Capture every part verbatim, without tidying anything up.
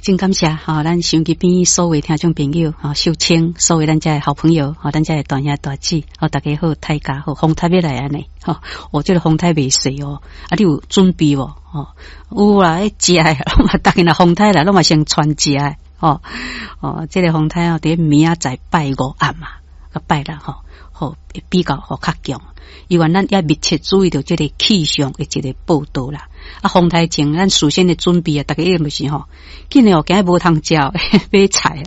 真感謝吼，咱收音機邊所有聽眾朋友，吼，秀清，所有咱遮的好朋友，吼，咱遮的大兄大姊，吼，大家好，大家好，風颱欲來按呢，吼，哦，這個風颱袂細哦，啊，你有準備無？吼，有啦，彼食的，攏嘛，逐日若風颱來，攏嘛先傳食的，吼，哦，這個風颱哦，佇明仔載拜五暗嘛，佮拜六吼，吼，比較吼較強。因為咱要密切注意著這個氣象的一個報道啦。啊，風颱前咱事先的準備啊，逐家一定就是吼，緊嘞哦，今日無通食，買菜啊。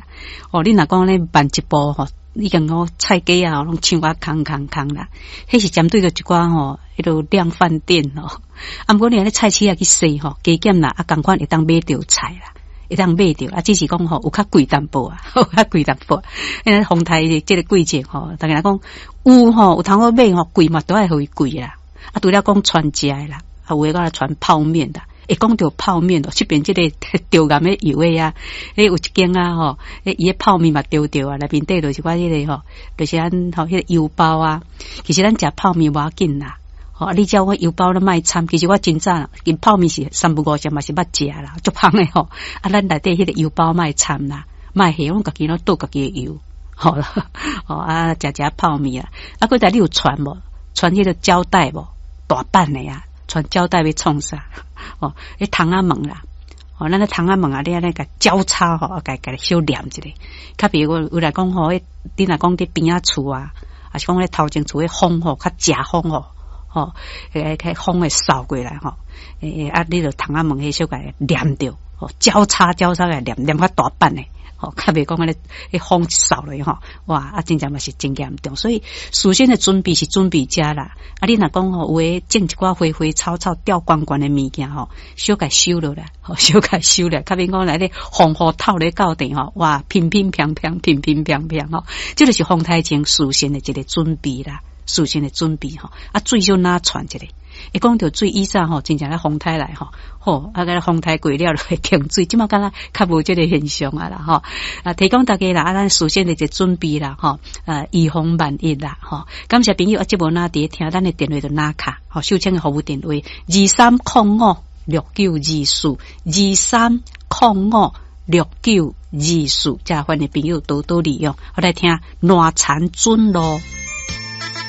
哦，你若講咧慢一步吼，已經講菜價啊，攏搶啊空空空啦。彼是針對著一寡吼，彼落量販店吼。啊，毋過你按呢菜市仔去踅吼，加減啦，啊，仝款會當買著菜啦，會當買著啊，只是講吼有較貴淡薄啊，有較貴淡薄。因為風颱這個季節吼，逐家若講有吼，有通好買吼，貴嘛都愛予伊貴啦。啊，除了講傳食的啦，啊，有的講來傳泡麵啦。會講著泡麵哦，這邊這個著岩的油的啊，彼有一間啊吼，伊的泡麵嘛著著啊，內面底就是寡彼個吼，就是按吼彼個油包啊。其實咱食泡麵無要緊啦，吼，啊，你叫我油包咧莫摻，其實我真早𪜶泡麵是三不五時嘛是捌食啦，足芳的吼。啊，咱內底彼個油包莫摻啦，莫下，阮家己攏倒家己的油，好啦，吼啊，食食泡麵啊，啊，閣來你有傳無？傳彼個膠帶無？大板的啊，傳膠帶欲創啥？哦，彼窗仔門啦，哦，咱咧窗仔門啊，你按呢共交叉吼，啊，共共小黏一下。較比如有來講吼，你若講佇邊仔厝啊，抑是講咧頭前厝彼風吼，較邪風吼，吼，彼個風會掃過來吼，欸啊，你著窗仔門彼小共黏著，吼，交叉交叉共黏黏較大板的。吼，較袂講按呢，彼風掃落去吼，哇，啊，真正嘛是真嚴重。所以事先的準備是準備遮啦。啊，你若講吼，有的種一寡花花草草吊懸懸的物件吼，小共收落來，吼，小共收來，較免講來咧風雨透咧到頂吼，哇，乒乒乓乓，乒乒乓乓吼，這就是風颱前事先的一個準備啦，事先的準備吼，啊，水小哪傳一下。會講著水以前吼，真正咧風颱來吼，吼啊個風颱過了就會停水，這馬敢若較無這個現象啊啦吼。啊，提供大家啦，啊，咱事先的一個準備啦，吼，啊，預防萬一啦，吼。感謝朋友啊，這無哪佇咧聽，咱的電話就哪卡，吼，秀清的服務電話二三空五六九二四二三空五六九二四，遮歡迎朋友多多利用。我來聽爛田准路。